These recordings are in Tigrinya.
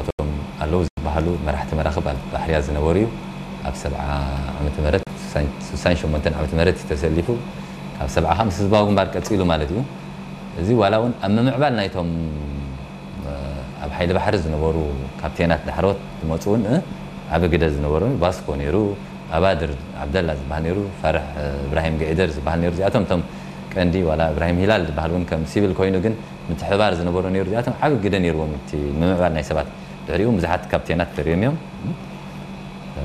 እቶም ኣለዉ ዝበሃሉ መራሕቲ መራኽብ ኣብ ባሕርያ ዝነበሩ እዩ። ኣብ ሰብዓ ዓመተ ምህረት፣ ስሳን ሸሞንተን ዓመተ ምህረት እዩ ተሰሊፉ። ካብ ሰብዓ ምስ ህዝባዊ ግንባር ቀጺሉ ማለት እዩ። እዚ ዋላ እውን ኣብ ምምዕባል ናይቶም ኣብ ሓይሊ ባሕሪ ዝነበሩ ካፕቴናት ዳሕሮት ዝመፁ እውን ዓብ ግደ ዝነበሩ ቫስኮ ነይሩ፣ ኣባድር ዓብደላ ዝበሃል ነይሩ፣ ፋርሕ እብራሂም ገዒደር ዝበሃል ነይሩ። እዚኣቶም እቶም ቀንዲ ዋላ እብራሂም ሂላል ዝበሃል እውን ከም ሲቪል ኮይኑ ግን ምትሕብባር ዝነበሮ ነይሩ። እዚኣቶም ዓብ ግደ ነይርዎም እቲ ምምዕባል ናይ ሰባት። ድሕሪኡ ብዙሓት ካፕቴናት ተሪኦም እዮም።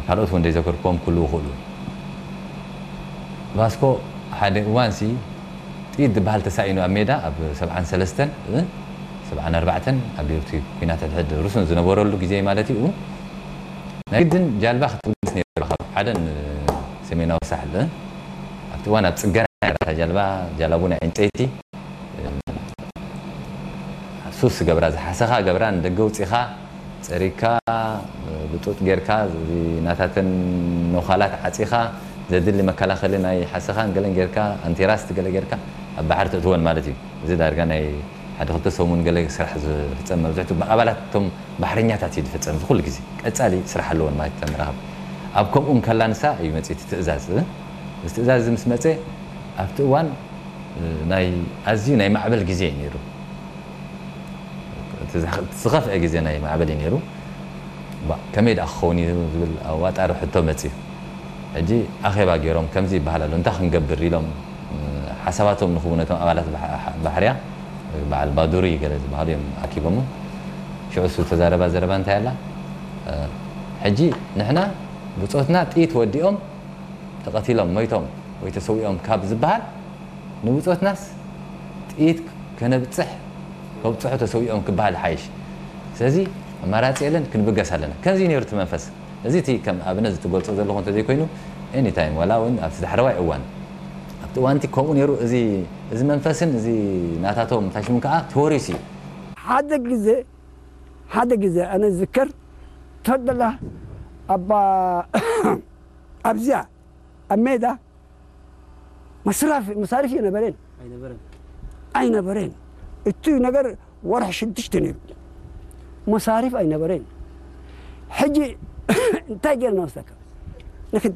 ካልኦት እውን ዘይዘከርክዎም ክህልዉ ይኽእሉ። ቫስኮ ሓደ እዋንሲ ጥይት ዝበሃል ተሳኢኑ ኣብ ሜዳ ኣብ ሰብዓን ሰለስተን ሰብዓን ኣርባዕተን ኣብ እቲ ኩናት ሕድሕድ ሩስን ዝነበረሉ ግዜ ማለት እዩ። ናይ ግድን ጃልባ ክትብገስ ነይሩ ካብ ዓደን ሰሜናዊ ሳሕል ኣብቲ እዋን ኣብ ፅገና ነይራ እታ ጃልባ። ጃላቡ ናይ ዕንጨይቲ ሱስ ገብራ ዝሓሰኻ ገብራ ንደገ ውፂኻ ፀሪግካ ብጡጥ ጌርካ ናታተን ነዃላት ዓፂኻ ዘድሊ መከላኸሊ ናይ ሓሰኻን ገለን ጌርካ ኣንቴራስት ገለ ጌርካ ኣብ ባሕሪ ተእትወን ማለት እዩ። እዚ ዳርጋ ናይ ሓደ ክልተ ሰሙን ገለ ስራሕ ዝፍፀም መብዝሕቱ ብኣባላት እቶም ባሕረኛታት እዩ ዝፍፀም። እዚ ኩሉ ግዜ ቀፃሊ ስራሕ ኣለወን ማለት እተን መራኽብ። ኣብ ከምኡ እንከላ ንሳ እዩ መፅእ እቲ ትእዛዝ። እዚ ትእዛዝ እዚ ምስ መፀ ኣብቲ እዋን ናይ ኣዝዩ ናይ ማዕበል ግዜ እዩ ነይሩ። እቲ ዝኸፍአ ግዜ ናይ ማዕበል እዩ ነይሩ። ከመይ ደኣ ክኸውን እዩ ዝብል ኣዋጣሪ ሕቶ መፅዩ። ሕጂ ኣኼባ ገይሮም ከምዚ ይበሃል ኣሎ እንታይ ክንገብር ኢሎም ሓሳባቶም ንኽቡ ነቶም ኣባላት ባሕርያ በዓል ባዱሪ ገለ ዝበሃሉ እዮም ኣኪቦሞ። ሽዑ እሱ ተዛረባ ዘረባ እንታይ ኣላ? ሕጂ ንሕና ብፆትና ጥይት ወዲኦም ተቐቲሎም ሞይቶም ወይ ተሰዊኦም ካብ ዝበሃል ንብፆትናስ ጥይት ከነብፅሕ ከብፅሑ ተሰዊኦም ክበሃል ይሓይሽ። ስለዚ ኣማራፂ የለን፣ ክንብገስ ኣለና። ከምዚ ነይሩ እቲ መንፈስ። እዚ እቲ ከም ኣብነት ዝትገልፆ ዘለኹ እንተዘይኮይኑ ኤኒታይም ዋላ እውን ኣብቲ ዳሕረዋይ እዋን ኣብቲ እዋንቲ ከምኡ ነይሩ። እዚ እዚ መንፈስን እዚ ናታቶም እንታይ ሽሙ ከዓ ተወሪሱ እዩ። ሓደ ግዜ ሓደ ግዜ ኣነ ዝዝከር ተደላ ኣብ ኣብዚኣ ኣብ ሜዳ መስራፍ መሳርፍ የነበረን ኣይነበረን። እቲ ነገር ወርሒ ሽዱሽተ ነይሩ መሳሪፍ ኣይነበረን። ሕጂ እንታይ ጌርና መስለካ ንክድ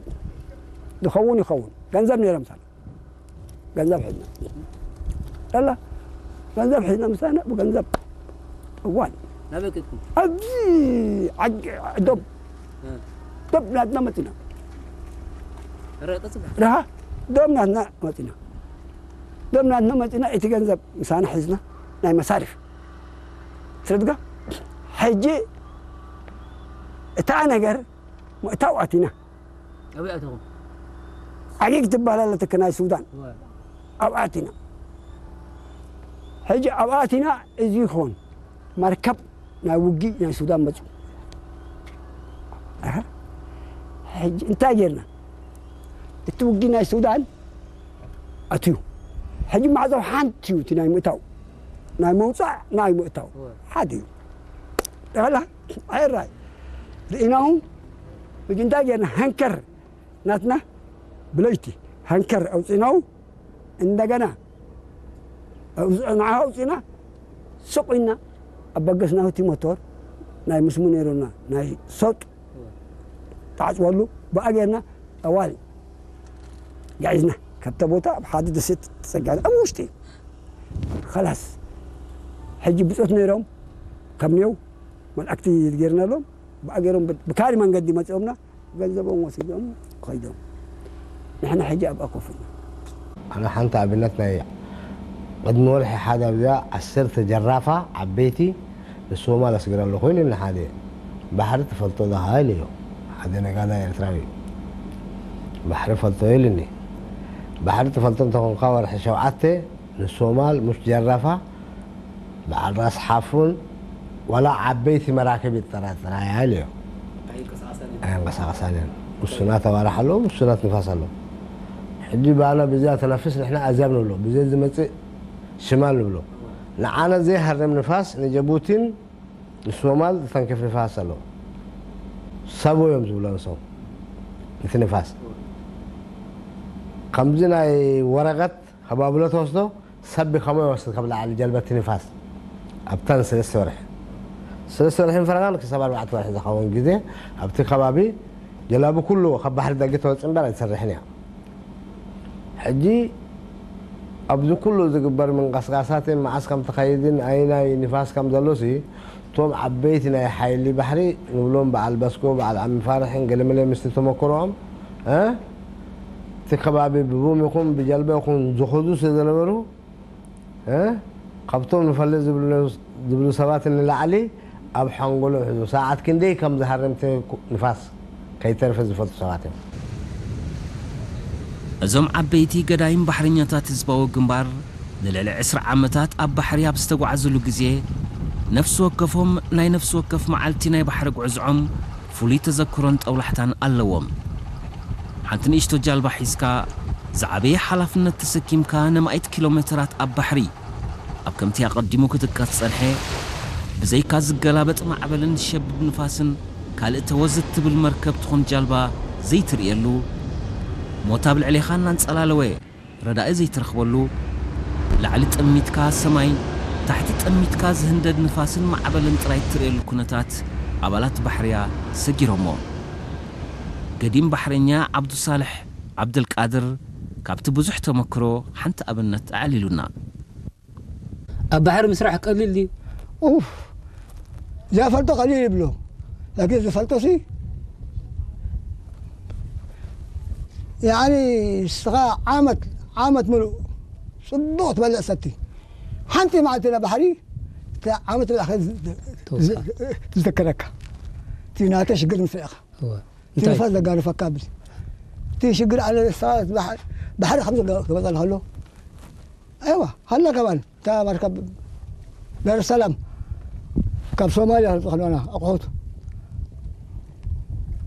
ዝኸውን ይኸውን ገንዘብ ነይሮም ሳላ ገንዘብ ሒዝና ላ ገንዘብ ሒዝና ምሳና ብገንዘብ እዋን ናበይ ከድኩም? ኣብዚ ዓዲ ዶብ እ። ዶብ ናትና መፂና ረ ቀፅል። ደሃ ዶብ ናትና መፂና ዶብ ናትና መፂና እቲ ገንዘብ ምሳና ሒዝና ናይ መሳሪፍ ስረድጋ ሕጂ እታ ነገር ምእታው ኣቲና ኣበይ ኣተኹም? ዓጊግ ትበሃል ኣለትክ ናይ ሱዳን እወ። ኣብኣ ኣቲና ሕጂ ኣብኣ ኣቲና እዚ ይኾን መርከብ ናይ ውጊ ናይ ሱዳን መፁ ኣሃ። ሕጂ እንታይ ጌርና እቲ ውጊ ናይ ሱዳን ኣትዩ ሕጂ ማዕዘው ሓንቲ እዩ እቲ ናይ ምእታው ናይ መውፃእ ናይ ምእታው እወ። ሓደ እዩ ጠላ ኣይራይ ርኢናሁ ሕጂ እንታይ ጌርና ሃንከር ናትና ብለይቲ ሃንከር ኣውፂናው እንደገና ንዓ ኣውፂና ሱቕ ኢልና ኣብ በገስና እቲ ሞቶር ናይ ምስሙ ነይሩና ናይ ሰጥ ተዓፅወሉ ብኣ ጌርና ጠዋል ጋዒዝና ካብተ ቦታ ኣብ ሓደ ደሴት ተፀጋዕና ኣብ ውሽጢ እዩ ኸላስ ሕጂ ብፆት ነይሮም ከም ኔው መልኣክቲ ጌርናሎም ብኣ ገይሮም ብካሊ መንገዲ መፂኦምና ገንዘቦም ወሲዶም ከይዶም ንሕና ሕጂ ኣብኣ ኮፍ ኢና ኣነ ሓንቲ ኣብነት ናይ ቅድሚ ወርሒ ሓደ ኣብዚኣ ዓሰርተ ጀራፋ ዓበይቲ ንሶማል ኣስግረ ኣለኹ ኢሉኒ ሓደ ባሕሪ ትፈልጦ ዶ ኢለዮ ሓደ ነጋዳ ኤርትራዊ ባሕሪ ፈልጦ ኢሉኒ ባሕሪ ትፈልጦ እንተኾንካ ወርሒ ሸውዓተ ንሶማል ሙሽ ጀራፋ በዓል ራስ ሓፉን ዋላ ዓበይቲ መራክብ ይጠራጠራ እያ ኢለዮ ኣይንቀሳቐሳን እየን ውሱናት ኣዋርሕ ኣለዎ ውሱናት ንፋስ ኣለዎ ሕጂ ባና ብዚኣ ተነፍስ ንሕና ኣዝያብ ንብሎ ብዘይ ዝመፅእ ሽማል ንብሎ ንዓና ዘይሃርም ንፋስ ንጀቡቲን ንሶማል ዝተንክፍ ንፋስ ኣለዎ ሰቦ እዮም ዝብሎ ንሶም እቲ ንፋስ ከምዚ ናይ ወረቀት ከባብሎ ተወስዶ ሰብ ከመይ ወስድ ካብ ላዕሊ ጀልበት ንፋስ ኣብተን ሰለስተ ወርሒ ሰለስተ ወርሕን ፈረቓን ክሳብ ኣርባዕተ ወርሒ ዝኸውን ግዜ ኣብቲ ከባቢ ጀላቡ ኩሉ ካብ ባሕሪ ደገ ተወፅእ እምበር ኣይትሰርሕን እያ። ሕጂ ኣብዚ ኩሉ ዝግበር ምንቅስቃሳትን መዓስ ከም ትኸይድን ኣይናይ ንፋስ ከም ዘሎሲ እቶም ዓበይቲ ናይ ሓይሊ ባሕሪ ንብሎም በዓል በስኮ በዓል ዓሚ ፋርሕን ገለመለ ምስቲ ተመክሮኦም እቲ ከባቢ ብቡም ይኹን ብጀልባ ይኹን ዝኸዱ ስለ ዝነበሩ ካብቶም ንፈልጥ ዝብሉ ሰባት ንላዕሊ ኣብ ሓንጎሎም ሕዙ ሰዓት ክንደይ ከም ዝሃርም እቲ ንፋስ ከይተርፈ ዝፈልጡ ሰባት እዮም። እዞም ዓበይቲ ገዳይም ባሕረኛታት ህዝባዊ ግንባር ንልዕሊ ዕስራ ዓመታት ኣብ ባሕሪ ኣብ ዝተጓዓዝሉ ግዜ ነፍሲ ወከፎም ናይ ነፍሲ ወከፍ መዓልቲ ናይ ባሕሪ ጉዕዝዖም ፍሉይ ተዘክሮን ጠውላሕታን ኣለዎም። ሓንቲ ንእሽቶ ጃልባ ሒዝካ ዝዓበየ ሓላፍነት ተሰኪምካ ነማኢት ኪሎ ሜተራት ኣብ ባሕሪ ኣብ ከምቲ ኣቐዲሙ ክጥቀስ ዝጸንሐ ብዘይካ ዝገላበጥ ማዕበልን ዝሸብብ ንፋስን ካልእ ተወዝ እትብል መርከብ ትኹን ጃልባ ዘይትርእየሉ፣ ሞት ኣብ ልዕሌኻ እናንጸላለወ ረዳኢ ዘይትረኽበሉ፣ ላዕሊ ጠሚትካ ሰማይ፣ ታሕቲ ጠሚትካ ዝህንደድ ንፋስን ማዕበልን ጥራይ እትርእየሉ ኩነታት ኣባላት ባሕርያ ሰጊሮሞ። ገዲም ባሕረኛ ዓብዱሳልሕ ዓብደልቃድር ካብቲ ብዙሕ ተመክሮ ሓንቲ ኣብነት ኣዕሊሉና። ኣብ ባሕሪ ምስራሕ ቀሊል ድዩ? ኡፍ፣ ዘይፈልጦ ቀሊል ይብሎ። ላኪን ዝፈልጦ ሲ ያኒ ንስኻ ዓመት ዓመት ምሉእ ጽቡቕ ትበልዕ ሰቲ ሓንቲ መዓልቲ ና ባሕሪ እቲ ዓመት ብላዕካ ትዝከረካ እቲ ናተ ሽግር ምስ ርኢኻ እቲ ንፋስ ዘጋርፈካ እቲ ሽግር ኣለ ባሕሪ ከም ክመፀልካ ከሎ ኣይዋ ሃላ ከማን እታ መርከብ ዳርሰላም ካብ ሶማልያ ዝኸድዋና ኣቑሑት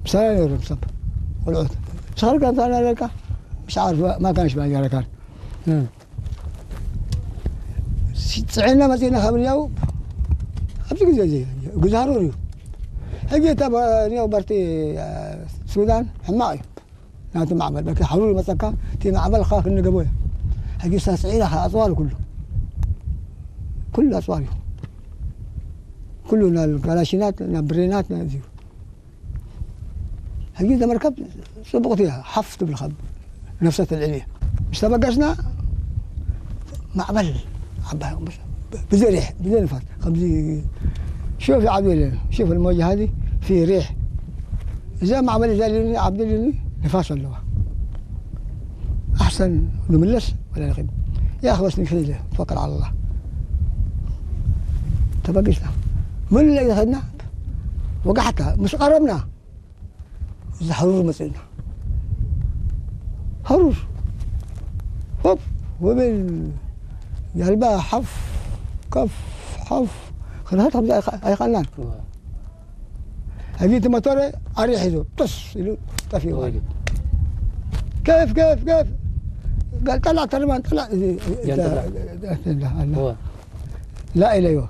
ምሳና ነይሮም ሰብ ቆልዑት ምሳኻ ጋንታ ናለካ ምሽ ዓርፍ ማካንሽ ባጃረካን ፅዕና መፂና ካብ ንያው ኣብዚ ግዜ እዚ ግዛሩር እዩ ሕጂ እታ ኒያው በርቲ ሱዳን ሕማቕ እዩ ናቲ ማዕበል በቃ ሓሩር ይመፀካ እቲ ማዕበል ካ ክንገቦ እያ ሕጂ ሳስዒና ኣፅዋር ኩሉ ኩሉ ኣፅዋር እዩ ኩሉ ናብ ጋላሽናት ናብ ብሬናት ናዚ እዩ ሕጂ ተመርከብ ፅቡቕቲ እያ ሓፍ ትብል ካብ ነፍሰ ተልዕል እያ ምስ ተበገስና ማዕበል ዓባይ ብዘይ ሪሕ ብዘይ ንፋስ ከምዚ ሹፍ ዓብዱ የለን ሹፍ الموجة هذه في ريح إذا معبل إذا ليوني عبد ليوني نفاس اللغة أحسن نملس ولا نخيب يا أخي بس نكفي توكل على الله تبقشنا من اللي خدنا وقحتها مش قربنا زحرور مسئنا حرور هوب وبين قلبها حف كف حف خلها تخبز أي خلان هجيت مطر أريح يزو طس يلو طفي واجد كيف كيف كيف قال طلع ترمان طلع لا إليه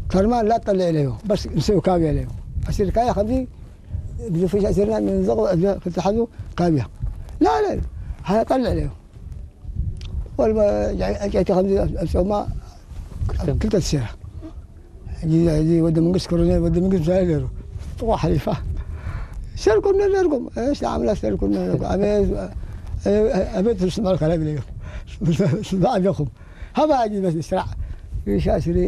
ترمان لا تطلع إليه بس نسوي كاوي عليه أصير كايا خمسين ብዙ ፊሻ ስርና ንዘቕ ክትሓዙ ካብያ ላለ ሃያ ጠልዕ ለዮ ወልበ ጨይቲ ከምዚ ኣብ ጾማ ክልተ ትሴራ እዚ ወዲ መንግስት ኮሎኔል ወዲ መንግስት ምሳሌ ነይሩ ጥቑ ሓሊፋ ሰርኩም ነርኩም እሺ ኣምላ ሰርኩም ነርኩም ኣቤት ስምዑ ከላይ ብለዮም ስምዑ ኣለኹም هبا اجي بس اسرع ريشة سري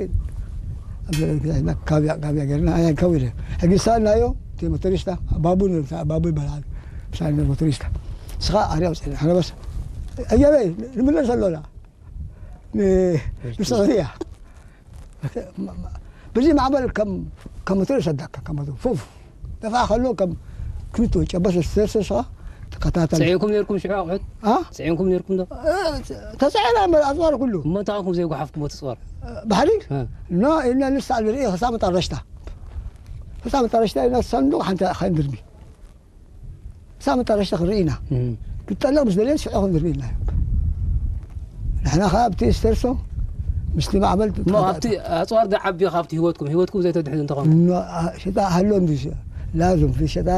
كابيا كابيا قرنا ايا كويله حق سالنا يو تي موتوريستا بابو بابو بلعب سالنا موتوريستا سخا اريا وسالنا انا بس ايا بي من سالونا بالسعوديه بزي معبل كم كم موتوريستا دكا كم فوف دفع خلوه كم كنتو جبس السيرسس ተኸታተል። ፅዒንኩም ነርኩም ሽዑ ኣቑሑት? ኣ? ፅዒንኩም ነርኩም ዶ? ተፅዒና እምበር ኣፅዋር ኩሉ። እሞ እንታይ ኮንኩም ዘይጓሓፍኩሞ እቲ ፅዋር? ባሕሪ? ኖ ኢልና ንስታዕ ንርኢ ክሳብ መጣረሽታ። ክሳብ መጣረሽታ ኢና ሰንዱቕ ሓንቲ ኣይንድርሚ። ክሳብ መጣረሽታ ክንርኢ ኢና። ክትጠልቕ ምስ ደለየት ሽዑ ክንድርሚ ኢልና። ንሕና ከዓ ኣብቲ ስተርሶ ምስቲ ማዕበል እሞ ኣብቲ ኣፅዋር ዝዓቢ ካብቲ ህይወትኩም ህይወትኩም ዘይተድሕኑ እንተኾንኩም ሽጣ ሃሎ እንዲ ላዝም ሽጣ